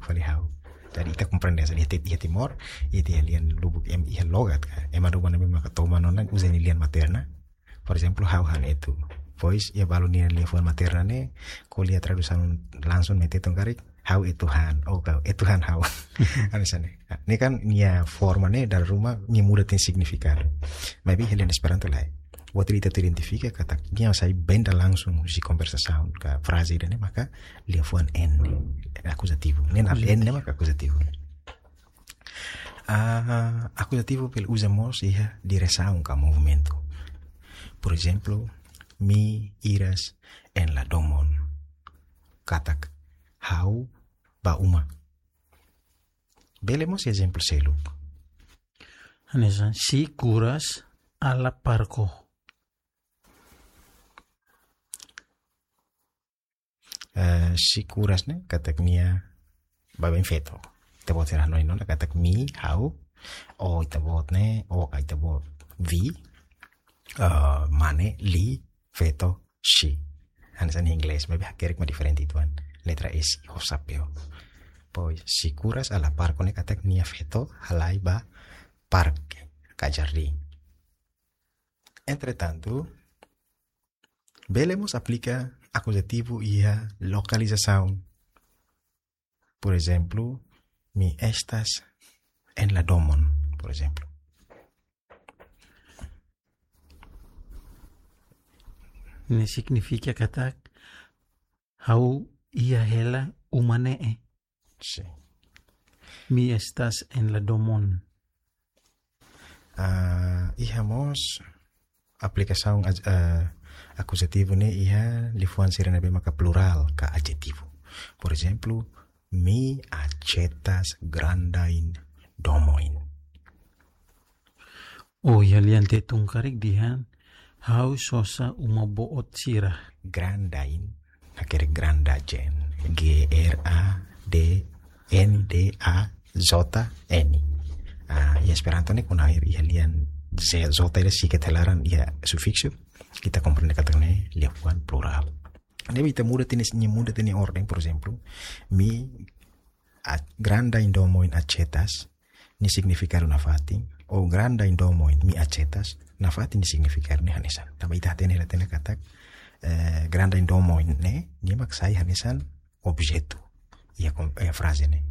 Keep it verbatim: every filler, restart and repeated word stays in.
fali ha'u. Jadi ita komprende saida, iha Ti-, iha Timor, iha ita-nia lian lubuk ema iha logat ka. Ema ruma ne'ebé maka toman ona uza nia lian materna. Por ezemplu, ha'u han etu. Depois, iha balu nia liafuan materna ne'e, ko'alia tradusaun langsung mai Tetun karik, ha'u etu han, oh, ha'u etu han ha'u. Hanesan ne'e. Ne'e kan nia forma ne'e dala ruma nia muda nia signifikadu. Maibé iha lian Esperanto lae. Buat ida ita identifika katak nia sai benda langsung husi konversasaun ka fraze ida-ne'e maka liafuan N ne'e, akuzativu. Ne'e na N ne'e maka akuzativu. Ah, akuzativu bele uza mós iha diresaun ka movimentu. Por ezemplu, mi iras en la domon. Katak ha'u ba uma. Bele mós ezemplu seluk. Hanesan, si kuras a la parko. Eh, si kuras ne'e katak nia baibain feto. Ita-boot sira hanoin ona katak mi, ha'u, o ita-boot ne'e, o ka ita-boot, we, eh, mane, li, feto, she. Hanesan inglés, maibé hakerek mak diferente uitoan. Letra S, ho xapeu. Pois, si kuras a la parko ne'e katak nia feto halai ba parke, ka jardín. Entretantu, bele mós aplika akuzativu iha lokalizasaun. Por ezemplu, mi estas en la domon, por ezemplu. Ne'e signifika katak ha'u iha hela uma ne'e. Sí. Mi estas en la domon. Ah, iha mós aplikasaun aj-, eh, akuzativu ne'e iha liafuan sira ne'ebé maka plurál ka adjetivu. Por ezemplu, mi achetas grandain domoin. Oh, iha lian Tetun karik dehan, ha'u sosa uma boot sira. Grandain, hakerek grandajen. G R A D N D A J N. Ah, iha Esperanto ne'e kona air iha lian Z, J ida sikat hela laran iha sufiksu. Ita komprende katak ne'e liafuan plurál. Ne'ebé ita muda tiha nia, nia muda tiha nia orden, por ezemplu, mi a-, grandain domoin achetas, nia signifikadu nafatin, o grandain domoin mi achetas, nafatin nia signifikadu ne'e hanesan. Tanba ita hatene hela tiha ona katak, eh, grandain domoin ne'e, nia mak sai hanesan objetu. Iha kon-, iha fraze ne'e.